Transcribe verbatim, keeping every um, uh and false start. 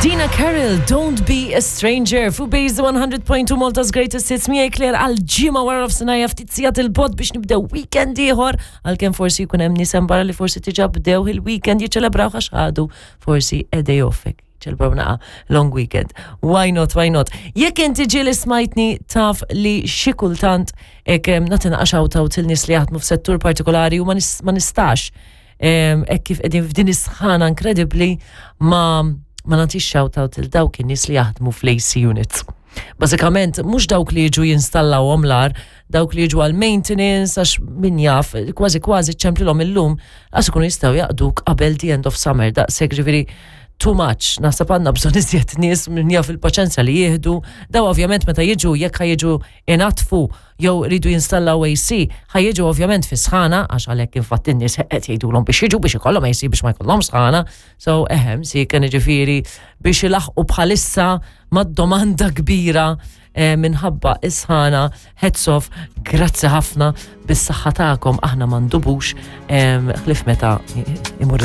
Dina Carroll, "Don't Be a Stranger", fuq Base one hundred point two, Malta's Greatest Hits, miegħi Claire għal ġimgħa wara nofsinhar, ftit sigħat 'il bogħod biex nibdew weekend ieħor, għalkemm forsi jkun hemm nies barra li forsi diġà bdew il-weekend jiċċelebraw għax ħadu forsi a day off, ċelebraw naqa long weekend. Why not, why not? Jekk inti ġieli smajtni, taf li xi kultant ek nagħti naqa shout out il-nies li jaħdmu f'settur partikolari u ma nis- ma nistax hekk kif qegħdin f'din is-sħana inkredibbli ma ma nagħtix shout out il dawk in-nies li jaħdmu fl-A C units. Bażikament mhux dawk li jiġu jinstallawhom l-ar, dawk li jiġu għal maintenance, għax min jaf, kważi kważi ċemplilhom illum għax ikunu jistgħu jaqduk qabel the end of summer, daqshekk ġifieri too much. Naħseb għandna bżonn iżjed nies, min jaf il-paċenzja li jieħdu. Daw ovvjament meta jiġu, jekk ħa jiġu inaddfu jew ridu jinstallaw A C, ħa jiġu ovvjament fi sħana, għax għalhekk infatti n-nies qed jgħidulhom biex jiġu biex ikollhom A C biex ma jkollhom sħana. So ehem, si kien ġifieri biex ilaħqu bħalissa mad-domanda kbira eh, minħabba is-sħana, hats off, grazzi ħafna, bis-saħħa tagħkom aħna ma ndubux ħlief meta imur